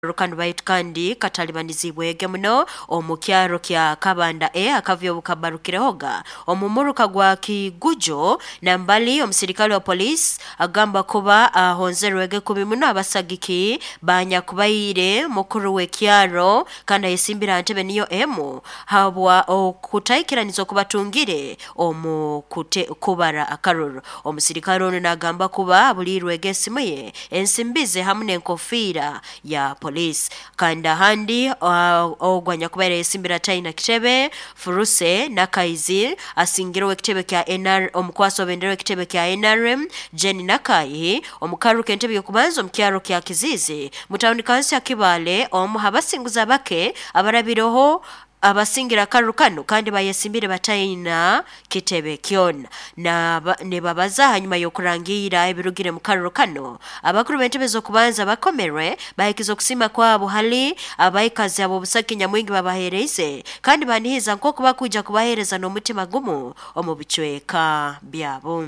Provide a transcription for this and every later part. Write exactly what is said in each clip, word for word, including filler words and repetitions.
Kanu baitu kandi katalibanizibwege muno omu kyaro kya Kabanda E akavyo bukabarukirehoga omumuruka gwa Kigujo. Nambali omusirikale wa police agamba kuba ahonzerwege kubi muno abasagiki banyakubaire mukuru w'ekyaro kandi ayesimbira ntebe niyo emu habwa okutaikiraniza okubatungire omu kute, kubara akaruru. Omusirikale onu nagamba kuba abulirwege esimu ye, ensimbi ze hamu n'enkofiira ya police. Kandi ahandi uh, ogwo anyakubaire yesimbira taina kitebe, Furuse Nakaizi, asingirwe ekitebe kya N R, omukwaso bendera w'ekitebe kya N R M Jenny Nakayi omukaru k'entebe y'okubanza omu kyaro kya Kizizi mu tawuni kansi ya Kibale, omu habasinguza bake abarabireho abasingira akaruru kanu kandi bayesimbire bataina kitebe kyona. Nibabaza hanyuma y'okurangira ebirugire mu karuru kano, abakuru b'entebe z'okubanza bakomerwe bahikiza okusiima kwabo hali abaikazi ab'obusaki nyamwingi babaheereze kandi banihiza nk'oku bakwija kubaheereza n'omutima gumu omu bicweka byabo.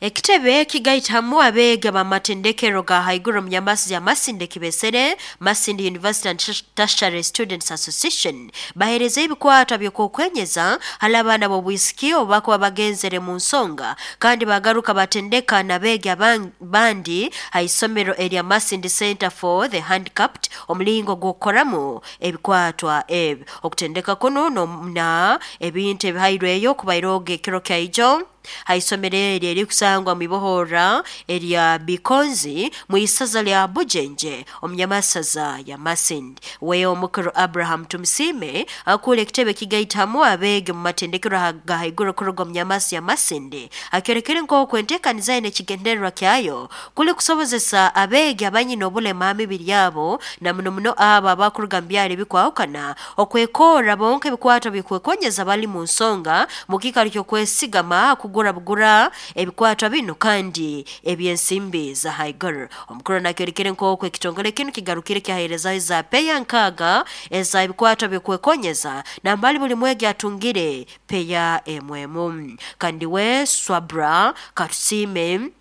Ekitebe kigaitamu abeegi ab'amatendekero ga haiguru omu nyamasi ya Masindi kibesere Masindi University and Tertiary Students Association baheereza ebikwatwa by'okwenyeza hali abaana b'obwisiki obu bakuba bagenzere mu nsonga, kandi bagaruka batendeka n'abeegi abandi ha isomero erya Masindi Center for the Handicapped omulingo gw'okukoramu ebikwatwa ebi. Okutendeka kunu na ebintu ebihairweyo kubairoga ekiro kyaijo ha isomero eri erikusangwa mu ibohora erya Bikonzi mu isaza lya Bujenje omu nyamasaza ya Masindi. We omukuru Abraham Tumusime akura ekitebe kigaitamu abeegi mu matendekero ga haiguru kuruga omu nyamasi ya Masindi akyorekere nk'oku enteekaniza ye n'ekigendererwa kyayo kuli kusobozesa abeegi abanyine obulema ha mibiri yabo, na muno muno abo abakuruga mu byaro ebikwahukana, okwekorra bonka ebikwato byokwekonyeza bali mu nsonga mu kiikaro ky'okwesigama kugura bugura ebikwatwa binu kandi eby'ensimbi za haiguru. Omukuru nakyorekere nk'oku ekitongole kinu kigarukire kyaheerezaho za peya nkaaga eza ebikwatwa byokwekonyeza, nambali buli mwegi atungire peya emu emu. Kandi we Swabra Katusime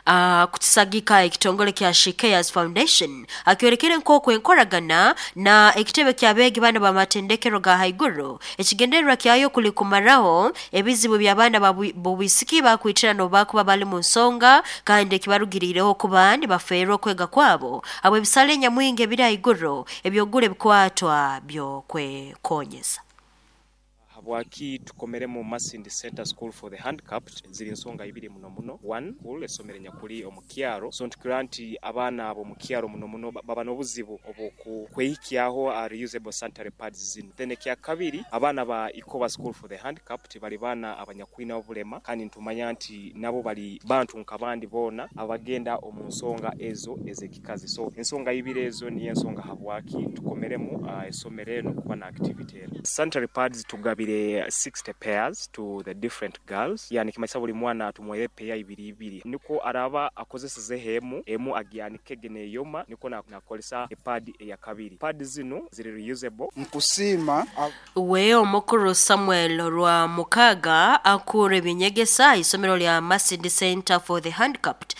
uh, kutusagika ekitongole kya She Cares Foundation akyorekere nk'oku enkoragana na ekitebe ky'abeegi bana b'amatendekero ga haiguru ekigendererwa kyayo kuli kumaraho ebizibu by'abaana b'obwisiki bakwitirana obu bakuba bali mu nsonga kandi ekibarugiriireho kuba nibafeerwa okwega kwabo habw'ebisale enyamwingi ebiri haiguru eby'okugura ebikwatwa by'okwekonyeza. Habwaki tukomeremu Masindi Center School for the Handicapped? Ziri nsonga ibiri muno muno. One, school esomero nyakuli omu kyaro, so ntukira nti abaana abo mu kyaro muno muno baba n'obuzibu obwokwehikyaho uh, reusable sanitary pads zino. Then ekya kabiri, abaana ba Ikoba School for the Handicapped bali baana abanyakwina obulema, kandi ntumanya nti nabo bali bantu nk'abandi boona abagenda omu nsonga ezo ez'ekikazi. So ensonga ibiri ezo niyo ensonga habwaki tukomeremu uh, esomero eno kuba na activity eno. Sanitary pads tugabire sixty pairs to the different girls, yani kimanyisa buli mwana tumuhere peya ibiri ibiri, niko araba akozeseze emu emu agyanikege neyoma, niko nakolesa epad eya kabiri. Pad zino ziri reusable. Nkusiima. We omukuru Samuel rwa mukaga akura ebinyegesa isomero lya Masindi Center for the Handicapped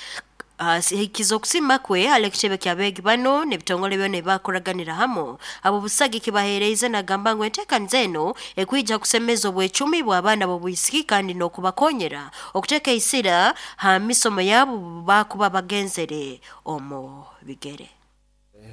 hikiza okusima kwe hali ekitebe ky'abeegi bano n'ebitongole byona ebibakoraganira hamu abo busagi kibaheereize. Nagamba ngu enteekaniza eno ekwija kusemeza obwecumi bw'abaana b'obwisiki kandi n'okubakonyera okuteeka isira ha misomo yabo bakuba bagenzere omu bigere.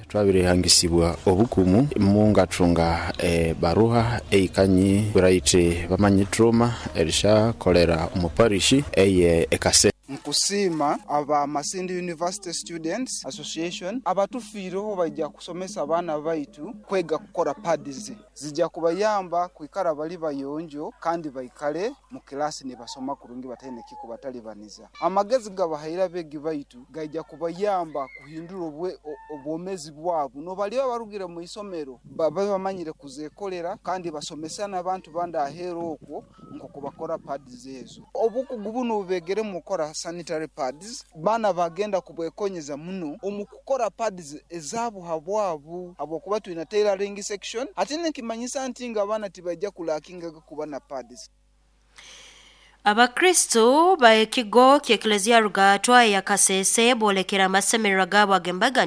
Twabirehangisibwa obukumu mungathunga e baruha eikanyi buraite bamanyi trauma erishakolera omuparishi eye ekase. Nkusiima aba Masindi University Students Association abatufiireho bajja kusomesa abaana baitu kwega kukora pads zijja kubayamba kwikara bali bayonjo kandi baikale mu kilasi nibasoma kurungi bataine kikubatalibaniza. Amagezi gabahaire abeegi baitu gaija kubayamba kuhindura obwomezi bwabo, nobali barugire mu isomero babe bamanyire kuzekolera kandi basomesa n'abantu bandi aheeru okwo nk'oku bakora pads ezo. Obukugu buno bubegere mu kukora sanitary pads, baana bagenda kubwekonyeza muno omu kukora pads ezaabo habwabu, habwokuba twina tailoring section, ate nekimanyisa nti nga abaana tibajja kulakingaga kuba na pads. Abakristu ba ekigo ky'Eklezia Rugatwa ya Kasese boolekera amasemererwa gaabo ag'embaganiza.